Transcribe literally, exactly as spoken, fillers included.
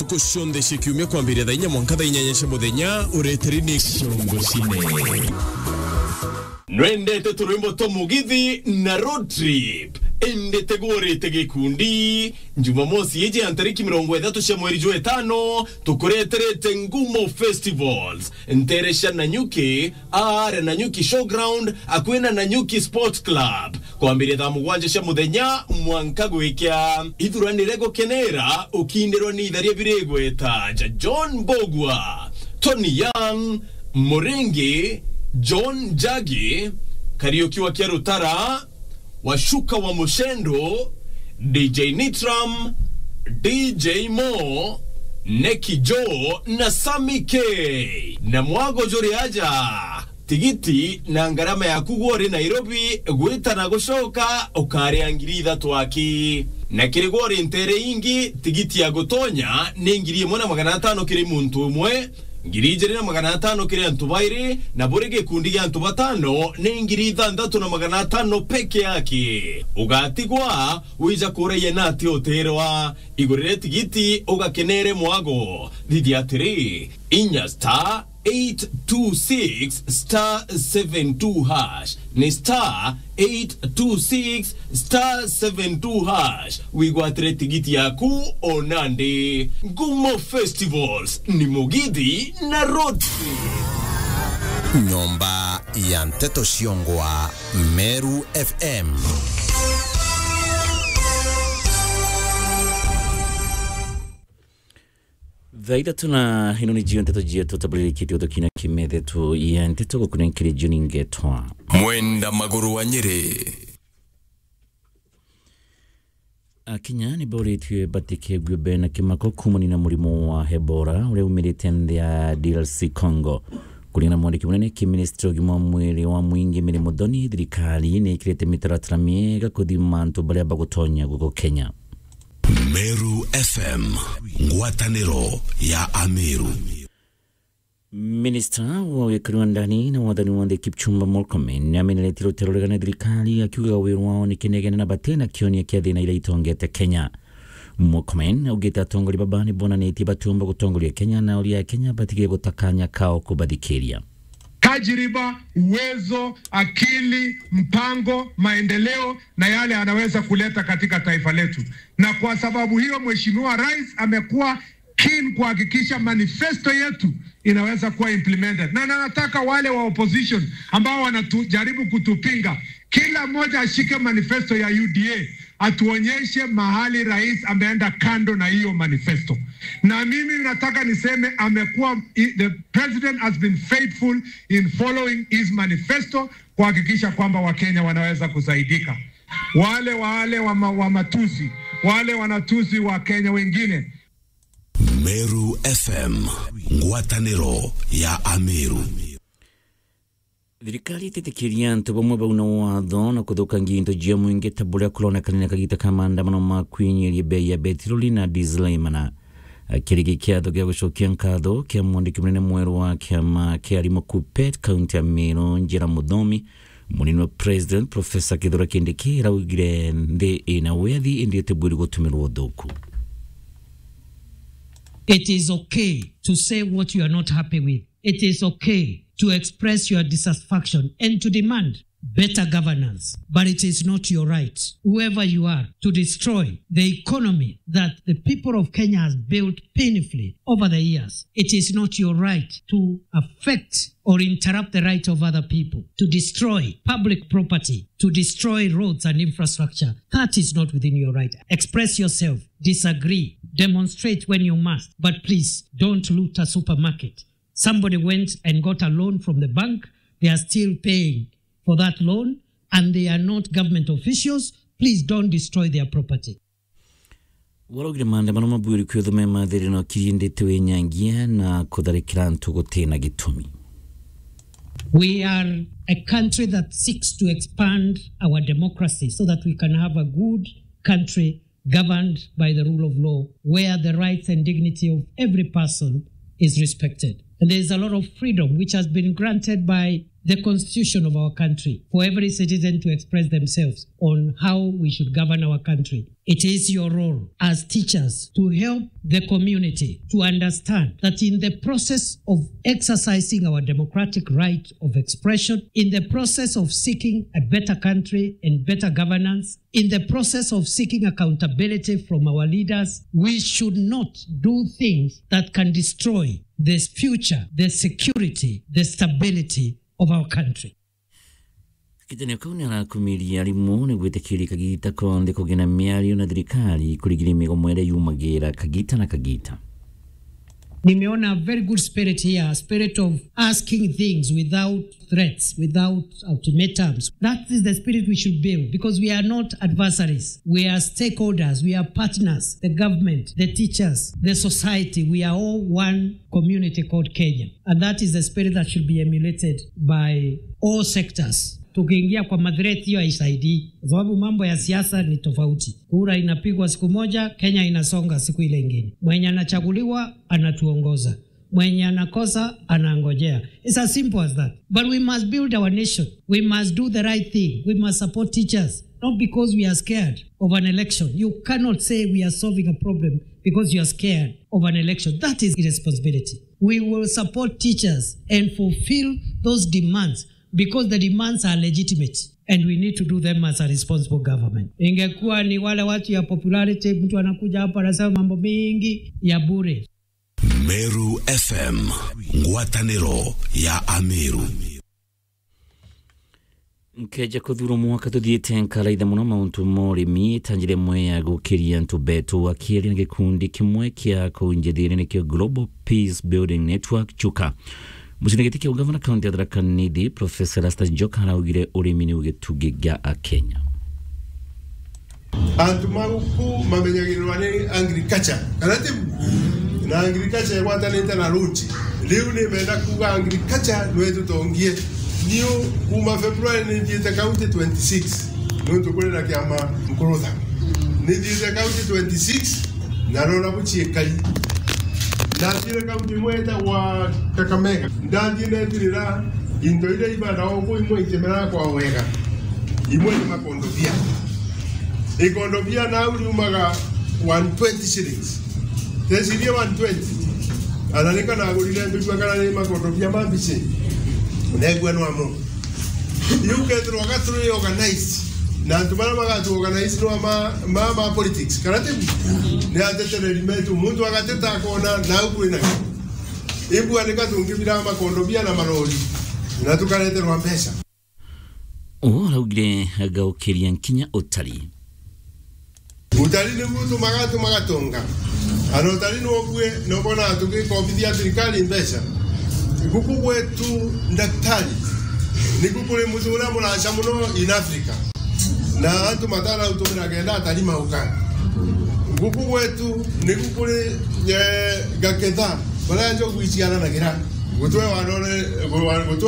Ntuku cionthe cia kiumia kwambiria thaa inya mwanka thaa inyanya cia muthenya, ureteri ni Ciongo Cine. Nwendete turwimbo twa mugithi na road trip? Indi tigurite gikundi. Jumamosi iji ya ntariki mirongo ithatu cia mweri jwa itano, tukureterete Ngumo Festivals, ntere cia Nanyuki, aare Nanyuki Showground, akui na Nanyuki Sport Club, kwambiria thaa mugwanja cia muthenya mwanka gwikia. Ithuranire gukenera ukindirwa ni itharia birigweta ja John Mbugua, Tony Young, Muringi, John Njagi, Kariuki wa Kiarutara, Washuka wa Mushendo, D J Nitram, D J Mo, Neki Joe na Sammy K. Na mwago juri aja, tigiti na ngarama yaku gwe uri Nairobi gwita na gucoka ukaria ngiri ithatu aki. Na kiri gwe uri ntere ingi, tigiti ya gutonya ni ngiri imwe na magana atano kiri muntu umwe, ngiri ijiri na magana atano kiri antu bairi, na buri gikundi gia antu batano ni ngiri ithanthatu na magana atano peke yake. Ugatigwa wija kuragia na ati utirwa. Igurire tigiti ugakenere mwago. Thithia atiri, inya star eight two six star seven two hash. Ni star eight two six star seven two hash. Wigwatire tigiti yaku o nandi. Ngumo Festivals ni mugithi na road trip. Nyomba ya nteto ciongwa Meru F M. Thaa ithatu na ino ni jio nteto jietu tabulirikitie utukina kimethe tu ya nteto gukunenkiri Juni Ngetwa. Mwenda Maguru wa Nyeri. Akenya ni boritue batikegue bena kimako kumania na murimo wa Ebola uria umirite nthi ya D R C Congo. Kuringana na mwandiki munene ki ministry ugima wa mwiri wa mwingi Mary Muthoni, thirikari ni ikirite mitaratara miega kuthima antu baria bagutonya guko Kenya. Meru F M, ngwataniro ya Ameru. Minista wa wikari wa ndani na wathani wa nthi Kipchumba Murkomen ni ameneretie rutero rugana thirikari akiugaga wiru wao ni kinegene na batena kionia kia thina iria itongete Kenya. Murkomen augite atongoria baba ni bonanitie batiumba gutongoria Kenya na uria Kenya batigire guta kanya kao kubathikiria. Tajriba, uwezo, akili, mpango, maendeleo na yale anaweza kuleta katika taifa letu. Na kwa sababu hiyo, Mheshimiwa Rais amekuwa keen kuhakikisha manifesto yetu inaweza kuwa implemented. Na nataka wale wa opposition ambao wanajaribu kutupinga, kila mmoja ashike manifesto ya U D A, atuonyeshe mahali rais ameenda kando na hiyo manifesto. Na mimi nataka niseme amekuwa, the president has been faithful in following his manifesto kuhakikisha kwamba Wakenya wanaweza kusaidika. Wale, wale wa ma-, wa matusi, wale wanatusi wa Kenya wengine. Meru F M, ngwataniro ya Ameru. Thirikari ititikiria antu bamwe bauna watho na kuthukangia into jia mwingi ta buria kuronekana na kagita ka maandamano ma kwinyiria bei ya betiroli na diesel imana. Akiri kiatho gia gucokia nkatho kia mwandiki munene mweru wa kiama kia arimu KUPPET kaunti ya Meru, Njira Muthomi, munini wa president Professor Kithure Kindiki araugire nthi ina wiathi indi itibwiri gutumirwa uthuku. It is okay to say what you are not happy with. It is okay to express your dissatisfaction and to demand better governance, but it is not your right, whoever you are, to destroy the economy that the people of Kenya has built painfully over the years. It is not your right to affect or interrupt the right of other people, to destroy public property, to destroy roads and infrastructure. That is not within your right. Express yourself, disagree, demonstrate when you must, but please don't loot a supermarket. Somebody went and got a loan from the bank. They are still paying for that loan, and they are not government officials. Please don't destroy their property. Waraugire maandamano mabwiri kwithuma mathiri no kirindite winyangia na kutharikira antu gutina gitumi. We are a country that seeks to expand our democracy so that we can have a good country governed by the rule of law, where the rights and dignity of every person is respected. And there is a lot of freedom which has been granted by the constitution of our country for every citizen to express themselves on how we should govern our country. It is your role as teachers to help the community to understand that in the process of exercising our democratic right of expression, in the process of seeking a better country and better governance, in the process of seeking accountability from our leaders, we should not do things that can destroy the future, the security, the stability of our country. Kitanio kau ni arakumiria arimu ni gwitikiria kagita konthe kugia na miario na thirikari kurigiria migomo iria yumagira kagita na kagita. Nimeona a very good spirit here, a spirit of asking things without threats, without ultimatums. That is the spirit we should build, because we are not adversaries. We are stakeholders, we are partners, the government, the teachers, the society. We are all one community called Kenya. And that is the spirit that should be emulated by all sectors. Tukiingia kwa mathreat hiyo haisaidii, kwa sababu mambo ya siasa ni tofauti. Kura inapigwa siku moja, Kenya inasonga siku ile ingine. Mwenye anachaguliwa anatuongoza, mwenye anakosa anangojea. It's as simple as that. But we must build our nation. We must do the right thing. We must support teachers. Not because we are scared of an election. You cannot say we are solving a problem because you are scared of an election. That is irresponsibility. We will support teachers and fulfill those demands because the demands are legitimate and we need to do them as a responsible government. Ingekuwa ni wale watu ya popularity, mtu anakuja hapa anasema mambo mingi ya bure. Meru F M, ngwataniro ya Ameru. Nkeja kuthurwa mwaka tuthiite, nkaraitha muno mauntu ma urimi, ta njira imwe ya gukiria antu betu. Akiaria na gikundi kimwe kia kuu njithiri, nikio Global Peace Building Network, Chuka, mucindani giti kia ugavana kaunti ya Tharaka Nithi, Professor Erastus Njoka, araugire urimi niu gitugi gia Akenya. Antu ma guku mamenyagirirwa ni agriculture, kana tiu? Na agriculture igwatanite na road. Riu nimenda kuuga agriculture nwe tutongie. Niu kuma February nithiite county twenty-six, nontu kuri na kiama Nkurutha. Nithiite county twenty-six, na nona buciikari. Nathiire county imwe itagwa Kakamega. Ndathii netirira into iria ibanda oku, imwe itimeraga kwa wega, imwe ni makondobia. Ikondobia nau riumaga one twenty shillings. Tecirie one twenty. Ana nika nagurire mbigua kana ni makondobia ma mbici. Negua no amo. Riu kethirwa ga turi organized, na antu baria bagatu organize no ma, ma, ma politics, kana tiu? Ni atetereri metu, muntu agateta akona nau kwina. Imbua nika tungibira makondobia na marori, na tukareterwa mbeca. Uu araugire agaukiria nkinya utari. Utari niguo utumaga, tumaga tonga. Ana utari nobue, nobona tugikobithia thirikari mbeca. Guku gwetu ndaktari, niku kuri mutu uria muraca muno in Africa. Na antu matara utumira kenda atari mauka. Guku gwetu niku kuri, eh, gaketha, baria njogu iciaranagira. Gutwe warore, gutwe